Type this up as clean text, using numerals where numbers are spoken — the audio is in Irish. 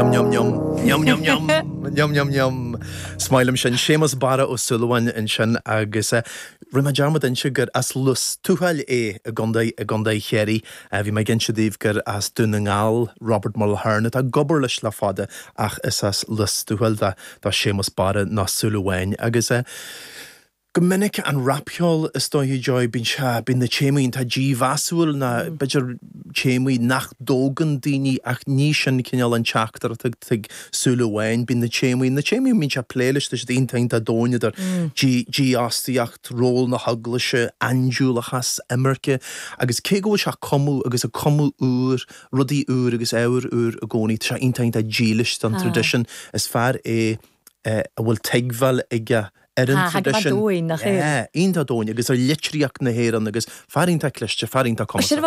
Yum yum yum, yum yum yum, yum yum yum. Is maith liom sin. Séamus Barra Ó Súilleabháin ansin agus rinne mé dearmad inse gur as Lios Tuathail é i gContae i gContae Chiarraí. Bhí mé ag inse daoibh gur as Dún na nGall Robert Mulhern atá ag obair leis le fada ach is as Lios Tuathail do Séamus Barra nó Súilleabháin agus Go minic an rapcheol is dóiche Joy, bíonn sé, bíonn na téamaí iontach dímheasúil nó b'fhéidir téamaí nach dtógann daoine ach ní sin cineál an teachtaireacht atá ag Súilleabháin. Bíonn na téamaí, na téamaí a mbíonn sé ag plé leis, tá siad iontach iontach domhain idir dífhostaíocht, ról na heaglaise, aindiúlachas, imirce agus cé go bhfuil sé ag cumadh agus ag cumadh úr, rudaí úr agus ábhar úr i gcónaí, tá sé iontach iontach dílis don traidisiún. Is fear é a bhfuil tuigbheáil aige ar an traidisiún. Tá, go domhain, nach é? Yeah, iontach domhain agus ar litríocht na hÉireann agus fear iontach cliste, fear iontach cumasach.